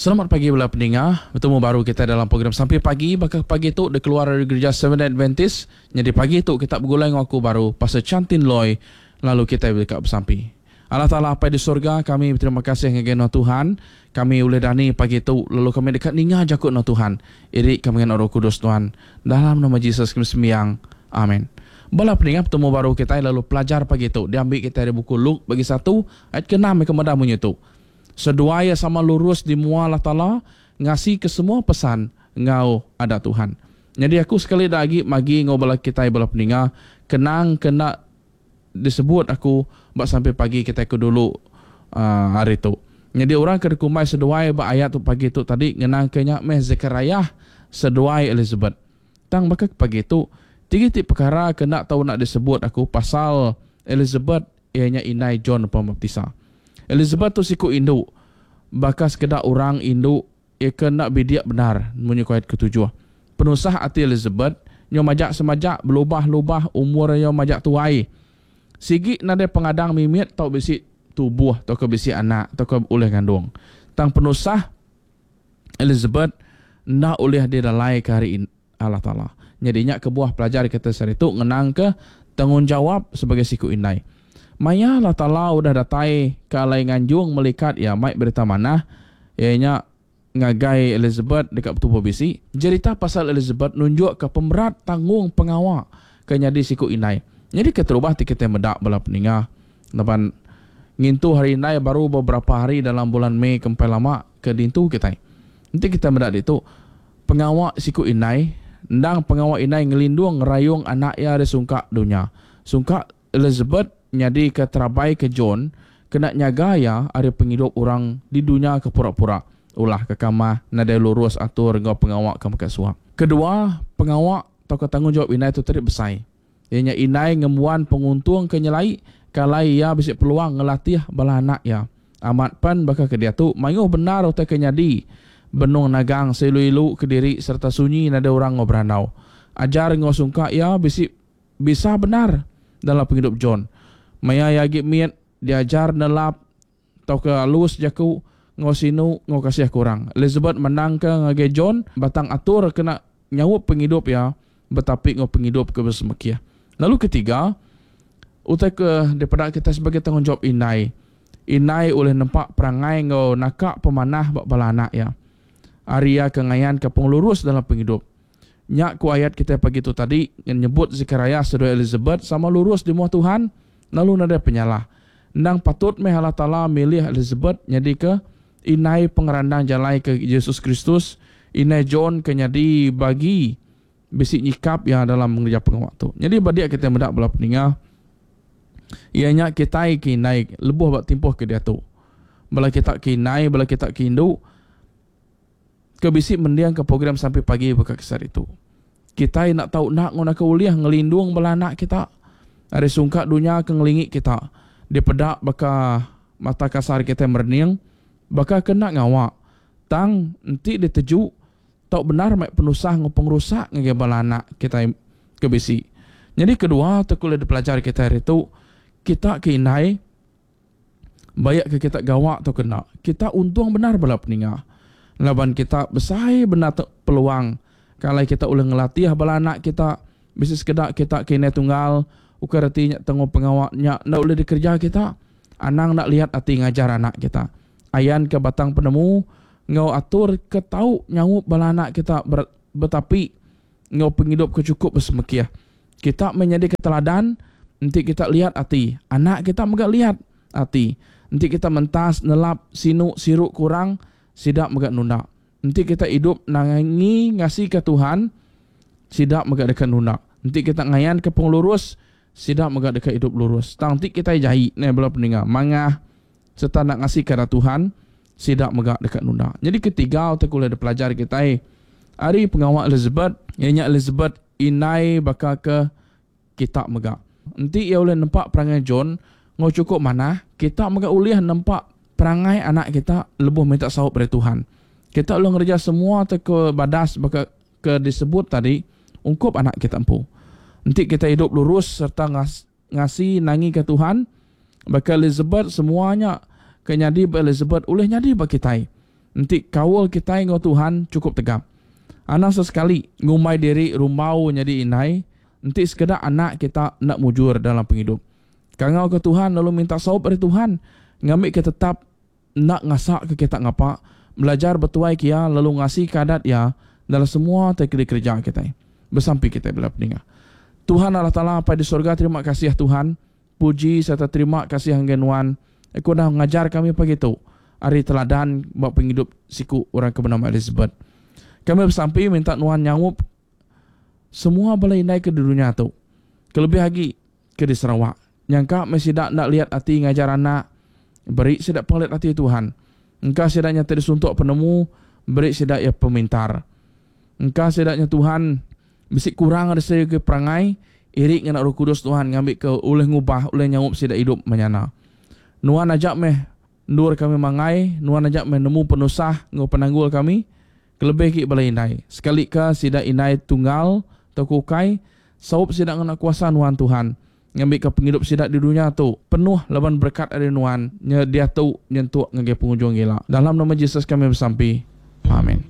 Selamat pagi bala peninga. Betemu baru kitai dalam program Sampi Pagi baka pagi tu dikeluar ari Gerija Seventh Adventist. Nyadi pagi tu kita begulai enggau aku baru Pastor Chantin Loy lalu kitai deka besampi. Allah Taala Apai di sorga, kami beterima kasih ngagai Nuan Tuhan. Kami ulih dani pagi tu lalu kami deka ninga jaku Nuan Tuhan. Iri kami ngena Roh Kudus Tuhan. Dalam nama Jesus kami sembiang. Amin. Bala peninga betemu baru kitai lalu pelajar pagi tu diambi kitai ari buku Luke bagi satu ayat ke-6 ke meda munyi tu. Seduai iya sama lurus di mua Allah Taala, ngasika semua pesan enggau adat Tuhan. Nyadi aku sekali da agi magi enggau bala kitai bala peninga, kenang ke enda disebut aku ba sampi pagi kitai ke dulu hari tu. Nyadi orang ke dikumbai seduai ba ayat tu pagi tu tadi ngenangka nya meh Sekariah seduai Elisabet. Tang baka ke pagi tu, tiga iti pekara ke enda tau enda disebut aku pasal Elisabet iya nya indai John Pemaptisa. Elizabeth tu siku indu, baka sekeda orang indu iya ke enda bidik bendar munyi ku ayat ketujuh. Penusah ati Elizabeth nyau majak semajak belubah-lubah umur iya majak tuai. Sigi nadai pengadang mimit tau bisi tubuh tauka bisi anak tauka ulih ngandung. Tang penusah Elizabeth enda ulih didalaika ari Allah Taala. Nyadi nya kebuah pelajar kitai sehari tu ngenangka tanggungjawap sebagai siku indai. Maya Allah Taala udah datai ke alai nganjung melikat iya mai berita manah, iya nya ngagai Elizabeth deka betubuh bisi. Jerita pasal Elizabeth nunjukka pemerat tanggung pengawa ke nyadi siku indai. Nyadi keterubah ti kitai meda bala peninga laban ngintu Hari Indai baru beberapa hari dalam bulan Mei ke empai lama ke diintu kitai. Enti kitai meda ditu, Pengawa siku indai, endang pengawa indai ngelindung ngerayung anak iya ari sungkak dunya. Sungkak Elizabeth nyadika terabai ke John kena nyaga iya ari pengidup orang di dunya ke pura-pura, ulah ke kamah, nadai lurus atur enggau pengawa ke makai suap. Kedua, pengawa tauka tanggungjawap indai tu tadi besai. Iya nya indai ngembuan penguntung ke nyelai ke alai iya bisi peluang ngelatih bala anak iya. Amat pen baka ke diatu mayuh bendar utai ke nyadi benung nagang seilu-ilu kediri sereta sunyi nadai orang enggau berandau. Ajar enggau sungkak iya bisi bisa bendar dalam pengidup John. Maya iya agi mit, diajar nelap tauka alus jaku enggau sinu enggau kasih ke orang. Elizabeth mandangka ngagai John batang atur kena nyaup pengidup iya betapi enggau pengidup ke besemekih. Lalu ketiga, utai ke dipeda kitai sebagai tanggungjawap indai. Indai ulih nempa perangai enggau naka pemanah ba bala anak iya. Ari iya ke ngayanka pengelurus dalam pengidup. Nya ku ayat kitai pagi tu tadi nyebut Sekariah seduai Elizabeth sama lurus di mua Tuhan lalu nadai penyalah. Endang patut meh Allah Taala milih Elizabeth nyadika indai pengerandang jalai ke Jesus Kristus, indai John ke nyadi bagi bisi nyikap iya dalam ngereja pengawa tu. Nyadi ba dia kitai meda bala peninga iya nya kitai ke indai lebuh ba timpuh ke diatu. Bala kita ke indai, bala kita ke indu, ke bisi mendingka program sampi pagi baka ke sehari tu. Kitai enda tau enda ngunaka ulih ngelindung bala anak kita ari sungkak dunya ke ngelingi kita dipeda baka mata kasar kitai merening baka ke enda ngawa tang enti diteju tau bendar mai penusah enggau pengerusak ngagai bala anak kitai ke bisi. Nyadi kedua tu ke ulih dipelajar kitai hari tu kita ke indai Baik ke kita gawa tauka enda, kita untung bendar bala peninga. Laban kita besai bendar peluang ke alai kita ulih ngelatih bala anak kita. Bisi sekeda kita ke indai tunggal, ukai reti nya tanggung pengawa nya enda ulih dikereja kita. Anang enda liat ati ngajar anak kita. Ayanka batang penemu enggau atur ke tau nyaup bala anak kita betapi enggau pengidup ke chukup besemekih. Kita meh nyadika teladan enti kita liat ati, anak kita mega liat ati. Enti kita mentas, nelap, sinu, siru ke orang, sida mega nunda. Enti kita idup nangi ngasika Tuhan, sida mega deka nunda. Enti kita ngayanka pengelurus, sida mega deka idup lurus. Tang enti kitai jai, neh bala peninga, mangah sereta enda ngasika adat Tuhan, sida mega deka nunda. Nyadi ketiga utai ke ulih dipelajar kitai ari pengawa Elizabeth, iya nya Elizabeth indai baka ke kita mega. Enti iya ulih nempa perangai John enggau chukup manah, kita mega ulih nempa perangai anak kita lebuh minta saup ari Tuhan. Kita ulih ngereja semua ti ke badas baka ke disebut tadi ungkup anak kita empu. Enti kita idup lurus sereta ngasi nangika Tuhan, baka Elizabeth semua nya ke nyadi ba Elizabeth ulih nyadi ba kitai. Enti kaul kitai enggau Tuhan chukup tegap. Anang sesekali ngumbai diri rumbau nyadi indai enti sekeda anak kita enda mujur dalam pengidup. Kangauka Tuhan lalu minta saup ari Tuhan ngambika tetap enda ngasaka kita ngapa, belajar betuaika Iya lalu ngasika adat Iya dalam semua ti dikereja kitai. Besampi kitai bela peninga. Tuhan Allah Taala Apai di sorga terima kasih Tuhan, puji sereta terima kasih ngagai Nuan ke udah ngajar kami pagi tu ari teladan ba pengidup siku orang ke benama Elizabeth. Kami besampi minta Nuan nyaup semua bala indai ke di dunya tu kelebih agi ke di Sarawak. Nyangka meh sida enda liat ati ngajar anak, beri sida pengelit ati Tuhan. Engka sida nya ti disuntuk penemu, beri sida iya pemintar. Engka sida nya Tuhan bisi kurang ari segi perangai, iri ngena Roh Kudus Tuhan ngambika ulih ngubah, ulih nyaup sida idup menyana. Nuan aja meh endur kami manggai, nuan aja meh nemu penusah enggau penanggul kami, kelebih agi bala indai. Sekalika sida indai tunggal tauka ukai, saup sida ngena kuasa nuan Tuhan, ngambika pengidup sida di dunya tu penuh laban berekat ari nuan nya diatu nyentuk ngagai pengujung ila. Dalam nama Jesus kami besampi. Amin.